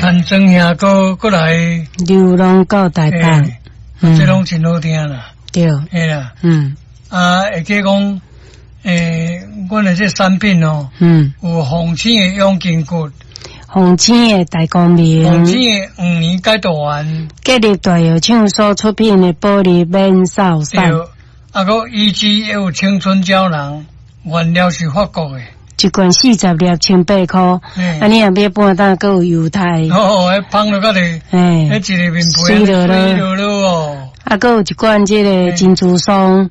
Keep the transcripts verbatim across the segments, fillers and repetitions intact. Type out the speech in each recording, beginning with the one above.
陳莊兄閣閣來流浪到台北，嗯，這攏真好聽啦，對，嘿啦，嗯，啊，會記講，欸，阮的這產品哦，嗯，有鳳青的養筋骨，鳳青的大光明，鳳青的黃連解毒丸，吉利大藥廠所出品的保利免掃散，對，啊，閣 E G 也有青春膠囊，原料是法國的。一罐四十粒，千八箍。啊，你若買半擔，閣有優待。哦，彼芳落甲咧，彼一个面皮媠落落，媠落落哦。啊，閣有一罐這个珍珠霜，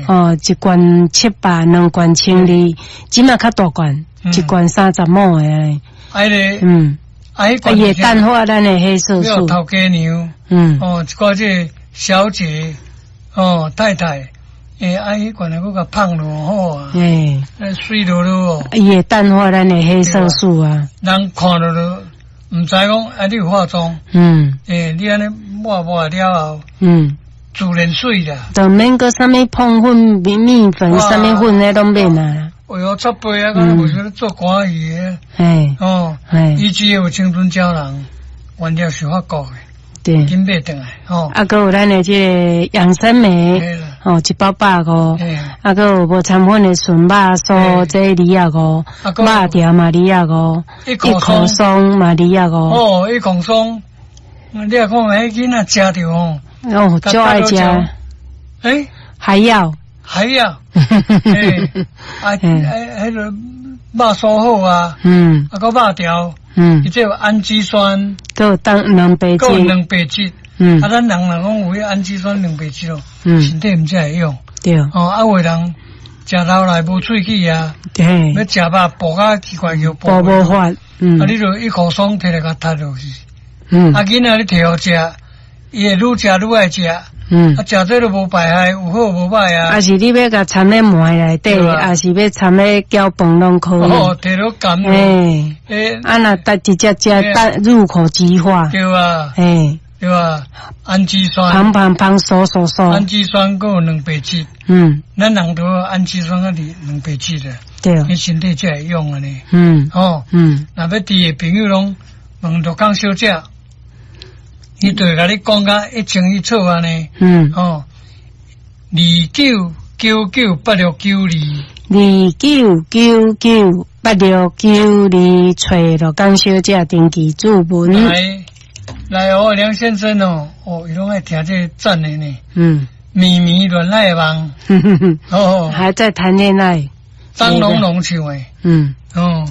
哦，一罐七百，兩罐千二，這馬較大罐，一罐三十毫的。啊，彼个，嗯，啊，彼罐會淡化咱的黑色素。頭家娘，嗯，哦，一寡這个小姐，哦，太太。欸，啊，彼罐閣共芳落好啊，欸，媠落落哦，伊會淡化咱的黑色素啊。人看著就毋知講啊，你有化妝？嗯，欸，你按呢抹抹了後，嗯，自然媠啦。就免閣啥物碰粉、麵麵粉、啥物粉，彼攏免啊。哎喲，擦背啊，敢若無啥做歌戲的。嘿，哦，嘿，伊只有青春膠囊，原料是法國的。對，緊買轉來，吼。啊，閣有咱的這个養生酶，吼，一包百五。啊，閣有無摻粉的純肉酥，這二十五。肉條嘛二十五。一口霜嘛二十五。哦，一口霜，你若看彼囡仔食著吼。哦，就愛食。欸，還要。還要。欸，啊，彼个肉酥好啊。嗯。啊，閣肉條。嗯，伊這有氨基酸，閣有當蛋白質，閣有蛋白質。嗯，啊，咱人若講有彼氨基酸蛋白質哦，嗯，身體毋才會用。對。哦，啊，有的人食老來無喙齒啊，對，欲食肉哺較奇怪叫哺無法，嗯，啊，你就一口霜提來共踢落去。嗯，啊，囡仔你提予食，伊會愈食愈愛食。嗯，啊，食這都無排害，有好無歹啊。啊是你欲共摻咧糜內底，抑是欲摻咧攪飯攏可以。哦，提落甘。欸，啊若直直接食，入口即化。對啊。欸，對啊，氨基酸。芳芳芳，酥酥酥。氨基酸閣有蛋白質。嗯。咱人都氨基酸閣佇蛋白質的。對。你身體才會用按呢。嗯。哦。嗯。若欲知的朋友攏問陸江小姐。伊就會共你講甲一清一楚按呢。嗯。哦，二九九九八六九二。二九九九八六九二，揣陸江小姐登記注文。來，來哦，梁先生哦，哦，伊攏愛聽這個讚的呢。嗯。綿綿戀愛夢。哦。還在談戀愛。張龍龍唱的。嗯。哦。